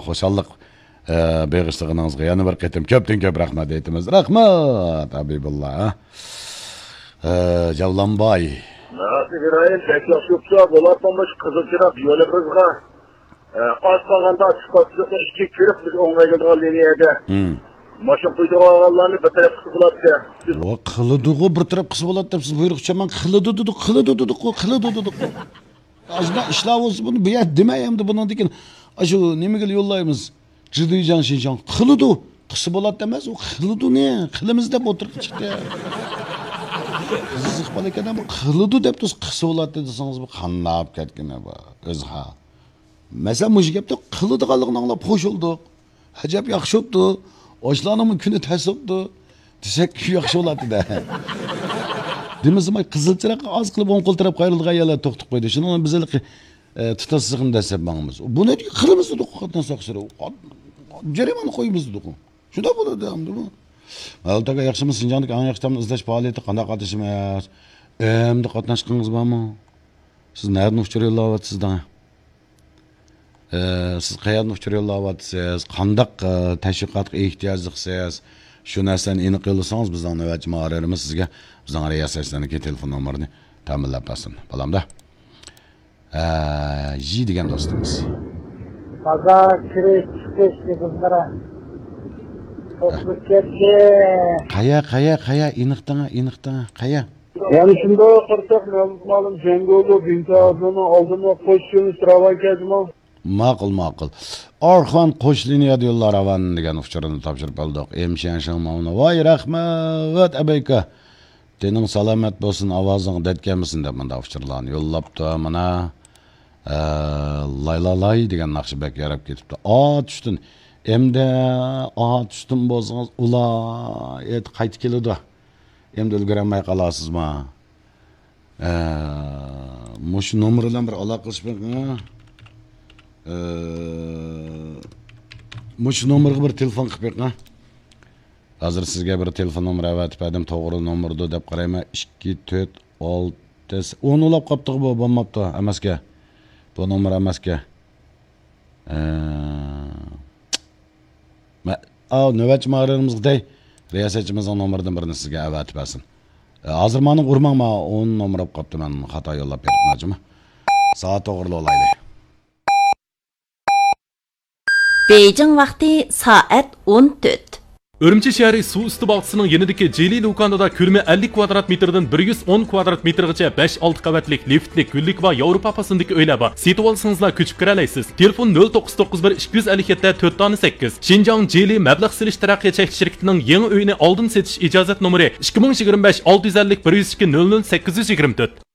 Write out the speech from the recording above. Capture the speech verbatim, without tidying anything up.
خۇشاللىق، ئە، بېغىشلىغىنىڭىزغا يەنە بىر قېتىم كۆپتىن كۆپ رەھمەت ئېيتىمىز. رەھمەت، ھەبىبۇللا، ھە؟ ئە، جەۋلانباي. مەرھەمەت ئىبراھىم، بەك ياخشى بوپتۇ. بولاتمۇش قىزىل چىراغ يولىمىزغا، ئە، ئاز قالغاندا ئىسپاتچىلىقنى ئىشكە كىرىپ، بىز ئوڭايلىدىغان لىنىيەدە. ھىم. ماشىنا قويىدىغانلارنى بىر تەرەپ قىلسا بولاتتى. ۋا، قىلىدىغۇ بىر تەرەپ قىلسا بولاتتى دەپ سىز بۇيرۇق چۈشۈرمەڭ. قىلىدۇ دېدۇق، قىلىدۇ دېدۇققۇ، قىلىدۇ دېدۇققۇ. ئاشۇنداق ئىشلار بولسا بۇنى بۇ يەردە دېمەي ئەمدى بۇنىڭدىن كېيىن. ئاشۇ نېمىگە يوللايمىز؟ جىدۇيجاڭ شىنجاڭ قىلىدۇ. قىلسا بولاتتى ئەمەس، ئۇ قىلىدۇنى، قىلىمىز دەپ ئوتتۇرىغا چىقتى. قىزىق بالا ئىكەن، ئەمما قىلىدۇ دەپ تۇرسا، قىلسا بولاتتى دېسىڭىز، بۇ قانداق بولۇپ كەتكىنى بۇ؟ ئۆزى ھال. مەسىلەن، مۇشۇ گەپتە قىلىدىغانلىقىنى ئاڭلاپ خوش بولدۇق. ئەجەب ياخشى بوپتۇ. ئاشۇلارنىڭمۇ كۈنى تەس بوپتۇ. دېسەك ياخشى بولاتتى-دە. دېمىسىمۇ قىزىل چىراغ ئاز قىلىپ ئوڭ قول تەرەپ قايرىلىدىغان يەرلەر توختىپ قويدى. شۇنىڭ بىلەن بىز ھېلىقى، ئە، تۇتاشلىقنى دەسسەپ ماڭىمىز. بۇنى قىلىمىز دېدۇق، قاتناش تەقسىرى. جەرىمانە قويىمىز دېدۇق. شۇنداق بولىدۇ ئەمدى بۇ. مەلۇت ئاكا، ياخشىمۇ؟ شىنجاڭدىكى ئەڭ ياخشى تامنى ئىزدەش پائالىيىتى قانداق ئاتىشىمىز؟ ئەمدى قاتناشقىڭىز بارمۇ؟ سىز نەدىن ئۇچۇر يوللاۋاتىسىز دەڭ؟ ئە، سىز قەيەردىن ئۇچۇر يوللاۋاتىسىز؟ قانداق، ئە، تەشۋىقاتقا ئېھتىياجلىقسىز؟ شۇ نەرسىلەرنى ئېنىق يوللىسىڭىز، بىزنىڭ نۆۋەتچى مۇھەررىرىمىز سىزگە بىزنىڭ رىياسەتچىلەرنىڭكى تېلېفون نومۇرىنى تەمىنلەپ بەرسۇن. بالامدا. ئە، ژى دېگەن دوستىمىز. بازار كىرىش چىقىش يىغىنلىرى توسۇلۇپ كەتتى. قەيە، قەيە، قەيە؟ ئېنىق دەڭە، ئېنىق دەڭە. قەيە؟ يەنە شۇنداق قارىساق، مەلۇم مەلۇم جەڭگولۇ بىنتازىنىڭ ئالدىمۇ قوش يۆنىلىش راۋان كەلدىمۇ؟ ماقۇل، ماقۇل. ئارخان قوش لىنىيەدە يوللار راۋان دېگەن ئۇچۇرنى تاپشۇرۇپ بولدۇق. ئېمشيەن شىڭماۋنى. ۋاي، رەھمەت، ئەبەيكا. تېنىڭ سالامەت بولسۇن، ئاۋازىڭ دەت كەلمىسۇن دەپ مۇنداق ئۇچۇرلارنى يوللاپتۇ. مانا، ئە، لاي لا لاي دېگەن ناخشا بەك ياراپ كېتىپتۇ. ئات ئۈستۈن. ئەمدى ئات ئۈستۈن بولسىڭىز، ئۇلار ئېيت قايتا كېلىدۇ. ئەمدى ئۈلگۈرەلمەي قالارسىزما؟ ئە، مۇشۇ نومۇر بىلەن بىر ئالاقىلىشىپ بېقىڭ. ئە، مۇشۇ نومۇرغا بىر تېلېفون قىلىپ بېقىڭ. ھازىر سىزگە بىر تېلېفون نومۇرى ئەۋەتىپ بەردىم، توغرا نومۇردۇ دەپ قارايمەن. ئىككى، تۆت، ئالتە، ئون بولاپ قاپتىغۇ بۇ، بولماپتۇ، ئەمەسكە. بۇ نومۇر ئەمەسكە. ئە، مە-، ئاۋۇ نۆۋەتچى مۇھەررىرىمىزگە دەي، رىياسەتچىمىزنىڭ نومۇرىدىن بىرنى سىزگە ئەۋەتىپ بەرسۇن. ئە، ھازىر مانا ئۇرماڭ، ما ئون نومۇر بولۇپ قاپتۇ، مەن خاتا يوللاپ بېرىپمەن جۇمۇ. سائەت توغرىلىۋالايلى. بېيجىڭ ۋاقتى سائەت ئون تۆت. ئۈرۈمچى شەھىرى سۇ ئۈستى باغچىسىنىڭ يېنىدىكى جىلى لۇكانىدا كۆلىمى ئەللىك كۋادرات مېتىردىن بىر يۈز ئون كۋادرات مېتىرغىچە بەش، ئالتە قەۋەتلىك لىفتلىك، گۈللۈك ۋە ياۋروپا پاسوندىكى ئۆيلەر بار. سېتىۋالسىڭىزلا كۆچۈپ كىرەلەيسىز. تېلېفون: نۆل توققۇز توققۇز بىر، ئىككى يۈز ئەللىك يەتتە، تۆت دانە سەككىز. شىنجاڭ جىلى مەبلەغ سېلىش تەرەققىيات چەكلىك شىركىتىنىڭ يېڭى ئۆيىنى ئالدىن سېتىش ئىجازەت نومۇرى: ئىككى مىڭ يىگىرمە بەش، ئالتە يۈز ئەللىك، بىر يۈز ئىككى، نۆل نۆل، سەككىز يۈز يىگىرمە تۆت.